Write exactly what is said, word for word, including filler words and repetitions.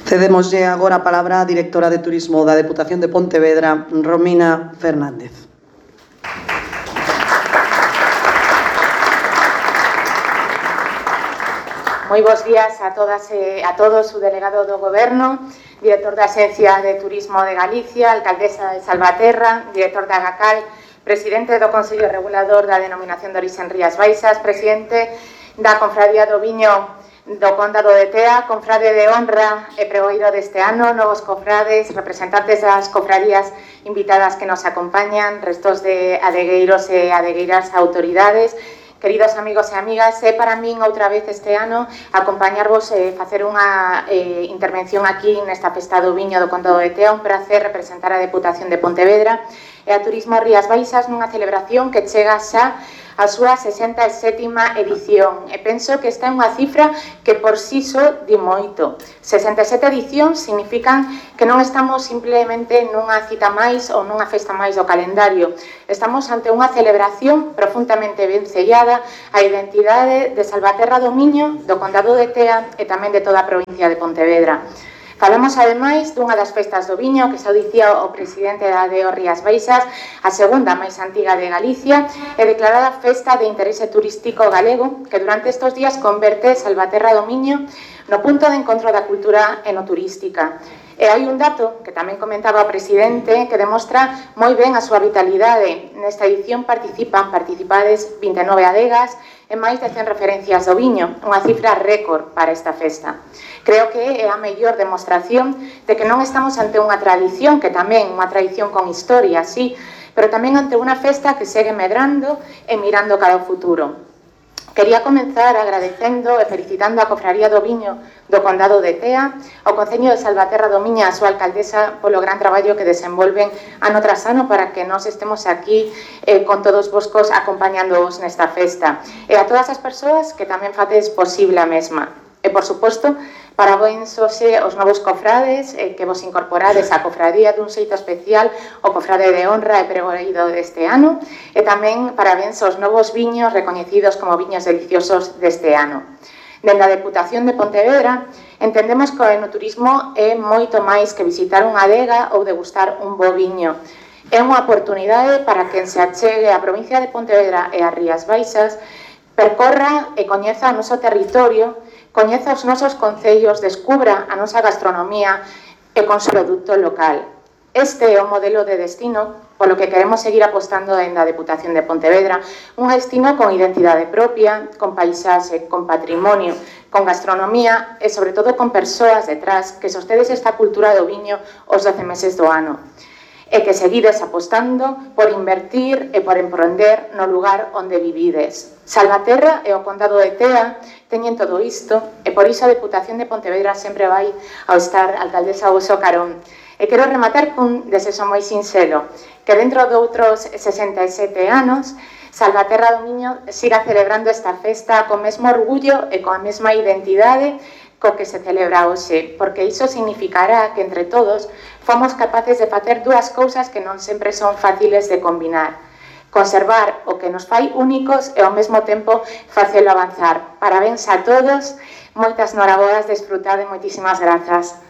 Cedémoslle agora a palabra á directora de Turismo da Deputación de Pontevedra, Romina Fernández. Moi bons días a todas e a todos, o delegado do Goberno, director da Axencia de Turismo de Galicia, alcaldesa de Salvaterra, director da Agacal, presidente do Consello Regulador da Denominación de Orixe en Rías Baixas, presidente da Confradía do Viño do Condado de Tea, confrade de honra e pregoeiro deste ano, novos cofrades, representantes das cofradías invitadas que nos acompañan, restos de adegueiros e adegueiras autoridades, queridos amigos e amigas, é para min outra vez este ano acompañarvos e facer unha eh, intervención aquí nesta festa do Viño do Condado de Tea, un prazer representar a Deputación de Pontevedra e a Turismo Rías Baixas nunha celebración que chega xa a súa sesenta e sétima edición. E penso que esta é unha cifra que por si só di moito. sesenta e sete edicións significan que non estamos simplemente nunha cita máis ou nunha festa máis do calendario. Estamos ante unha celebración profundamente vencellada á identidade de Salvaterra do Miño, do Condado de Tea e tamén de toda a provincia de Pontevedra. Falamos, ademais, dunha das festas do Viño que xa dicía o presidente da D O Rías Baixas, a segunda máis antiga de Galicia, e declarada festa de interese turístico galego que durante estes días converte Salvaterra do Miño no punto de encontro da cultura enoturística. E hai un dato que tamén comentaba o presidente que demostra moi ben a súa vitalidade. Nesta edición participan participades vinte e nove adegas e máis de cen referencias do viño, unha cifra récord para esta festa. Creo que é a mellor demostración de que non estamos ante unha tradición, que tamén unha tradición con historia, sí, pero tamén ante unha festa que segue medrando e mirando cara ao futuro. Quería comenzar agradecendo e felicitando a Cofraría do Viño do Condado de Tea, ao Concello de Salvaterra do Miño, a súa alcaldesa, polo gran traballo que desenvolven ano tras ano para que nós estemos aquí eh, con todos voscos acompañándoos nesta festa. E a todas as persoas que tamén facedes posible a mesma. E, por suposto, parabéns hoxe aos novos cofrades eh, que vos incorporades á cofradía dun xeito especial, o cofrade de honra e pregoeiro deste ano, e tamén parabéns aos novos viños recoñecidos como viños deliciosos deste ano. Dende a Deputación de Pontevedra, entendemos que o enoturismo é moito máis que visitar unha adega ou degustar un bo viño. É unha oportunidade para quen se achegue á provincia de Pontevedra e ás Rías Baixas, percorra e coñeza o noso territorio, coñeza os nosos concellos, descubra a nosa gastronomía e con seu produto local. Este é o modelo de destino polo que queremos seguir apostando en da Deputación de Pontevedra, un destino con identidade propia, con paisaxe, con patrimonio, con gastronomía e, sobre todo, con persoas detrás que sostedes esta cultura do viño os doce meses do ano. E que seguides apostando por invertir e por emprender no lugar onde vivides. Salvaterra e o Condado de Tea teñen todo isto e por iso a Deputación de Pontevedra sempre vai ao estar alcaldesa ao seu carón. E quero rematar cun desexo moi sinxelo, que dentro de outros sesenta e sete anos Salvaterra do Miño siga celebrando esta festa con mesmo orgullo e coa mesma identidade co que se celebra hoxe, porque iso significará que entre todos fomos capaces de facer dúas cousas que non sempre son fáciles de combinar. Conservar o que nos fai únicos e ao mesmo tempo facelo avanzar. Parabéns a todos, moitas noraboas, desfrutade, moitísimas grazas.